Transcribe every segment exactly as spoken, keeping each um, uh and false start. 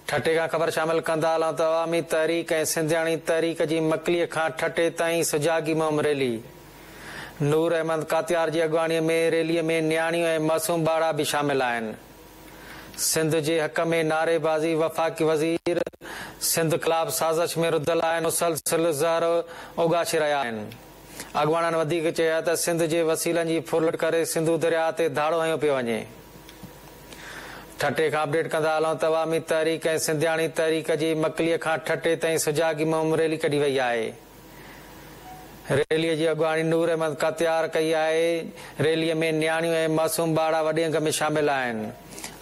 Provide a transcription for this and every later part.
ٺٽي کان خبر شامل ڪندا هلون ته عوامي تحريڪ ۽ سنڌياڻي تحريڪ جي مڪليء کان ٺٽي تائين سجاڳي مهم ريلي. نور احمد ڪاتيار جي اڳواڻيء ۾ ريليء ۾ نياڻيون ۽ معصوم ٻارڙا به شامل آهن. سنڌ جي حق ۾ نعريبازي وفاقي وزير سنڌ خلاف سازش ۾ رڌل آهن، مسلسل زهر اوڳاڇي رهيا آهن. اڳواڻن وڌيڪ چيو ته سنڌ جي وسيلن جي ڦرلٽ ڪري سنڌو درياهه تي ڌاڙو هنيو پيو وڃي. ٺٽي کان اپڊيٽ ڪندا هلون ته عوامي تحريڪ ۽ سنڌياڻي تحريڪ جي مڪليء کان ٺٽي تائين سجاڳي مهم ريلي ڪڍي وئي آهي. ريليء جي اڳواڻي نور احمد ڪاتيار ڪئي آهي. ريليء ۾ نياڻيون ۽ معصوم ٻارڙا وڏي انگ ۾ شامل آهن.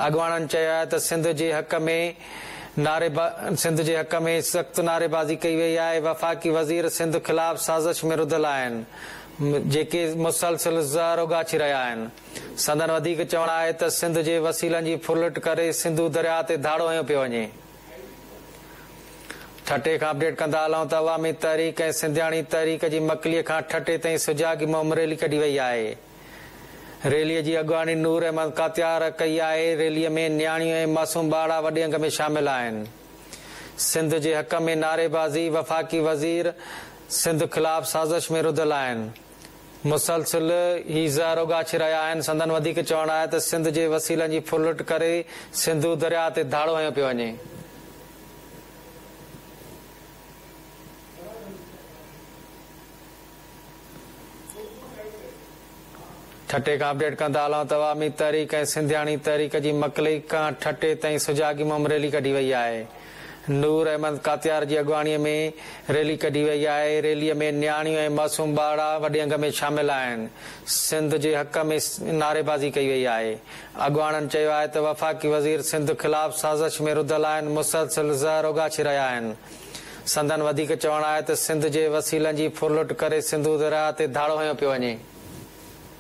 اڳواڻن چيو آهي ته سنڌ جي حق ۾ نعري سنڌ جي حق ۾ سخت نعريبازي ڪئي وئي آهي. وفاقي وزير سنڌ خلاف سازش ۾ رڌل آهن، جيڪي مسلسل زهر اوڳاڇي رهيا آهن. سندن وڌيڪ چوڻ آهي ته سنڌ جي وسيلن جي ڦرلٽ ڪري سنڌو درياهه تي ڌاڙو هنيو پيو وڃي. ٺٽي کان اپڊيٽ ڪندا هلون ته عوامي تحريڪ ۽ سنڌياڻي تحريڪ جي مڪليء کان ٺٽي تائين سجاڳي مهم ريلي ڪڍي وئي آهي. ريليء جي اڳواڻي نور احمد ڪاتيار ڪئي آهي. ريليء ۾ نياڻيون ۽ معصوم ٻارڙا وڏي انگ ۾ شامل آهن. سنڌ جي حق ۾ نعريبازي وفاقي وزير سنڌ خلاف سازش ۾ رڌل آهن، مسلسل هي زهر اوڳاڇي رهيا آهن. سندن وڌيڪ چوڻ آهي ته سنڌ جي وسيلن جي ڦرلٽ ڪري سنڌو درياهه تي ڌاڙو هنيو پيو وڃي. ٺٽي کان اپڊيٽ ڪندا هلون ته عوامي تحريڪ ۽ سنڌياڻي تحريڪ جي مڪلي کان ٺٽي تائين سجاڳي مهم ريلي ڪڍي وئي آهي. نور احمد ڪاتيار جي اڳواڻيء ۾ ريلي ڪڍي وئي آهي. ريليء ۾ نياڻيون ۽ معصوم ٻارڙا وڏي انگ ۾ شامل آهن. سنڌ جي حق ۾ نعريبازي ڪئي وئي آهي. اڳواڻن چيو آهي ته وفاقي وزير سنڌ خلاف سازش ۾ رڌل آهن، مسلسل زهر اوڳاڇي رهيا آهن. سندن وڌيڪ چوڻ آهي ته سنڌ جي وسيلن جي ڦرلٽ ڪري سنڌو درياهه تي ڌاڙو هنيو پيو وڃي.